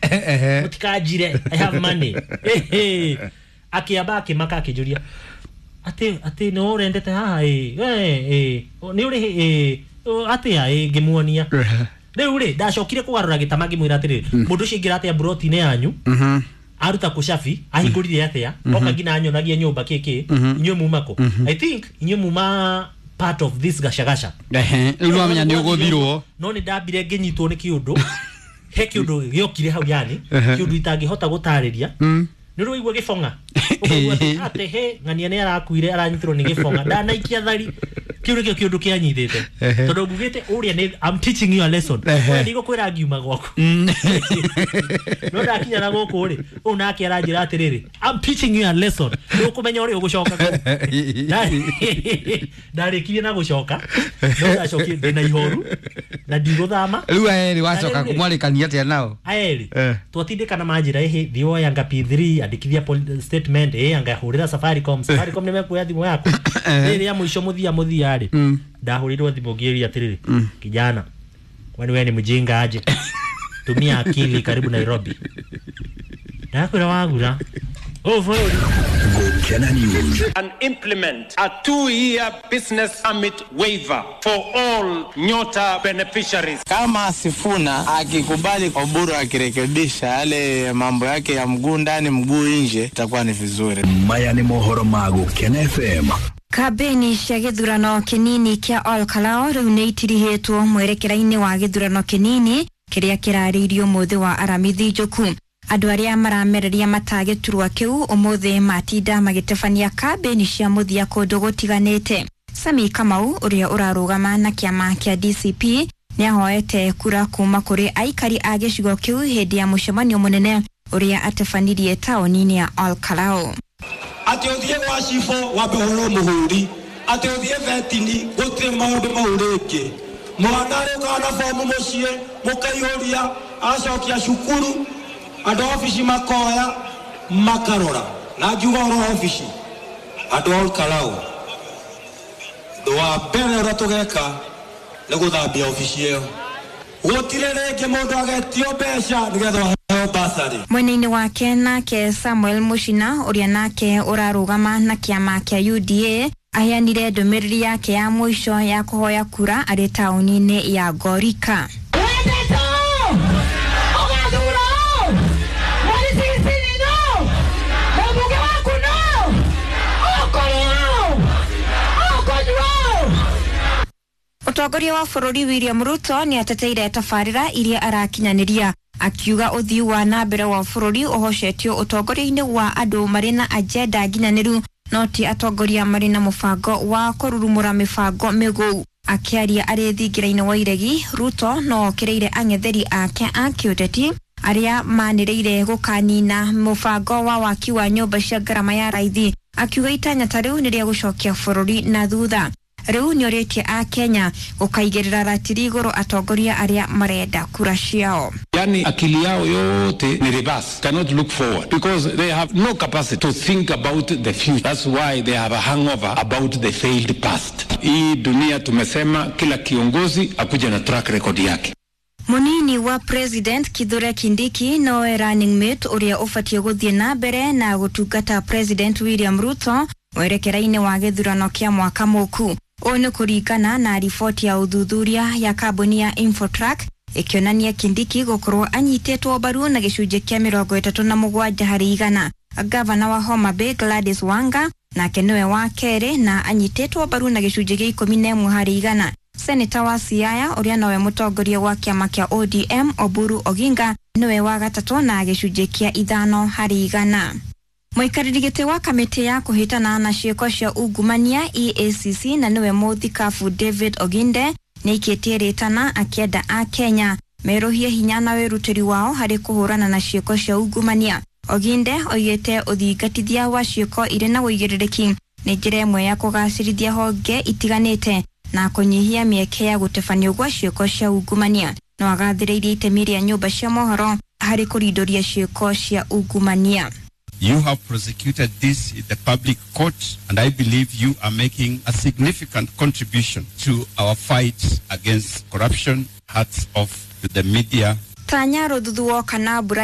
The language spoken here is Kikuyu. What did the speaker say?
Mũtikanjire, I have money. Akĩamba akĩmaka akĩnjũria atĩ nĩ ũrendete haha ĩ ĩ nĩ ũrĩ ĩ atĩa ĩ ngĩmuonia. Rĩu rĩ ndacokire kũgarũra gĩtama ngĩmwĩra atĩrĩrĩ, mũndũ ũcio aingĩra atĩa mburoti-inĩ yanyu, aruta kũ cabi, ahingũrire atĩa, oka nginya anyonagia nyũmba kĩkĩ, inyuĩ muma kũ? I think inyuĩ muma part of this gacagasha. Rĩu nĩwamenya nĩ ũgũthirwo. No nĩ ndambire ngĩnyitwo nĩ kĩũndũ, he kĩũndũ gĩokire hau, yani kĩũndũ itangĩhota gũtarĩria. Nĩ ũrĩ waigua gĩbong'a, ũkaigua atĩ he ng'ania nĩ arakuire aranyitirwo nĩ gĩbong'a ndanaikia thari. Kĩu nĩkĩo kĩũndũ kĩanyitĩte, tondũ ngugĩte ũrĩa nĩ I'm teaching you a lesson. Ũrĩa ndigũkwĩra ngiuma gwaku, no ndakinya na gũkũ rĩ, ũũ nake aranjĩra atĩrĩrĩ, I'm teaching you a lesson, nĩ ũkũmenya ũrĩa ũgũcoka kũu. Ndarĩkirie na gũcoka, no ndacokire ndĩna ihoru na ndigũthama. Rĩu aya erĩ wacoka mwarĩkania atĩa nao? Aya erĩ twatindĩkana manjĩra ĩhĩ thiĩ woya anga P3 andĩkithia statement ĩ anga hũrĩra Safaricom, Safaricom nĩ mekuoya thimũ yaku. Rĩrĩa mũico mũthia mũthia rĩ, ndahũrĩirwo thimũ ngĩũria atĩrĩrĩ, kijana, kwani wewe ni mjinga aje? Tumia akili, karibu Nairobi. Ndakwĩra wagura ũũ bũrũri. Gukena News. And implement a 2-year business permit waiver for all Nyota beneficiaries. Kama Sifuna akikubali Oburu akirekebisha yale mambo yake ya mguu ndani mguu nje, itakuwa ni vizuri. Maya nĩ mohoro ma Gukena FM. Kambĩini cia gĩthurano kĩnini kĩa Ol Kalou rĩu nĩ itirihĩtwo mwerekera-inĩ wa gĩthurano kĩnini kĩrĩa kĩrarĩirio mũthĩ wa Aramithi Njoku. Andũ arĩa maramereria mata gĩturwa kĩu ũmũthĩ matinda magĩtabania kambĩini cia mũthia kũndũ gũtiganĩte. Sami Kamau ũrĩa ũrarũgama na kĩama kĩa DCP nĩahoete kura kuma kũrĩ aikari a gĩcigo kĩu hĩndĩ ya mũcemanio mũnene ũrĩa atabanirie taũni-inĩ ya Ol Kalou. Atĩ ũthiĩ gwa cibũ wambe ũhũrwo mũhũri, atĩ ũthiĩ betini gũtirĩ maũndũ mau rĩngĩ. Mwana arĩũkaga na bomu mũciĩ mũkaihũria, agacokia cukuru, andũ a obici makoya makarora. Na ngiuga ũhoro wa obici, andũ a Ol Kalou, ũndũ wa mbere ũrĩa tũgeka nĩ gũthambia obici ĩyo. Gũtirĩ rĩngĩ mũndũ agetio mbeca nĩgetha aheo basarĩ. Mwena-inĩ wake nake Samuel Mushina ũrĩa nake ũrarũgama na kĩama kĩa UDA aheanire ndũmĩrĩri yake ya mũico ya kũhoya kura arĩ taũni-inĩ ya Ngorika. Mũtongoria wa bũrũri William Ruto nĩ ateteire tabarĩra iria arakinyanĩria, akiuga ũthii wa na mbere wa bũrũri ũhocetio ũtongoria-inĩ wa andũ marĩ na agenda nginyanĩru, no ti atongoria marĩ na mũbango wa kũrurumũra mĩbango mĩgũu. Akĩaria arĩ thingira-inĩ wa iregi, Ruto no okĩrĩire ang'etheri ake a kĩũteti arĩa manĩrĩire gũkanina mũbango wa waki wa nyũmba cia ngarama ya raithi, akiuga itanya ta rĩu nĩ rĩa gũcokia bũrũri na thutha. Rĩu nĩorĩtie a Kenya gũkaigĩrĩra ratiri igũrũ atongoria arĩa marenda kura ciao. Yani akili yao yote ni reverse, cannot look forward because they have no capacity to think about the future. That's why they have a hangover about the failed past. Hii dunia tumesema kila kiongozi akuja na track record yake. Munini wa President Kithure Kindiki nowe running mate ũrĩa ũbatiĩ gũthiĩ na mbere na gũtungata President William Ruto mwerekera-inĩ wa gĩthurano kĩa mwaka mũku. Ũũ nĩ kũringana na riboti ya ũthuthuria ya kambuni ya Infotrack ĩkĩonania Kindiki gũkorwo anyitĩtwo mbaru na gĩcunjĩ kĩa 37 harĩ igana. Gavana wa Homa Bay Gladys Wanga nake nĩwe wa kerĩ na anyitĩtwo mbaru na gĩcunjĩ kĩa 11 harĩ igana. Seneta wa Siaya ũrĩa nowe mũtongoria wa kĩama kĩa ODM Oburu Oginga nĩwe wa gatatũ na gĩcunjĩ kĩa 5 harĩ igana. Mũikarĩri gĩtĩ wa kamĩtĩ ya kũhĩtana na ciĩko cia ungumania EACC na nĩwe mũthikabu David Oginde nĩaikĩtie rĩtana akĩenda a Kenya merũhie hinya na wĩrutĩri wao harĩ kũhũrana na ciĩko cia ungumania. Oginde oigĩte ũthingatithia wa ciĩko irĩ na ũigĩrĩrĩki nĩ njĩra ĩmwe ya kũgacĩrithia honge itiganĩte na kũnyihia mĩeke ya gũtebanio gwa ciĩko cia ungumania. No agathĩrĩirie itemi rĩa nyũmba cia mohoro harĩ kũrindũria ciĩko cia ungumania. You have prosecuted this in the public court, and I believe you are making a significant contribution to our fight against corruption. Hats off to the media. Tanya rũthuthuo kana mbura.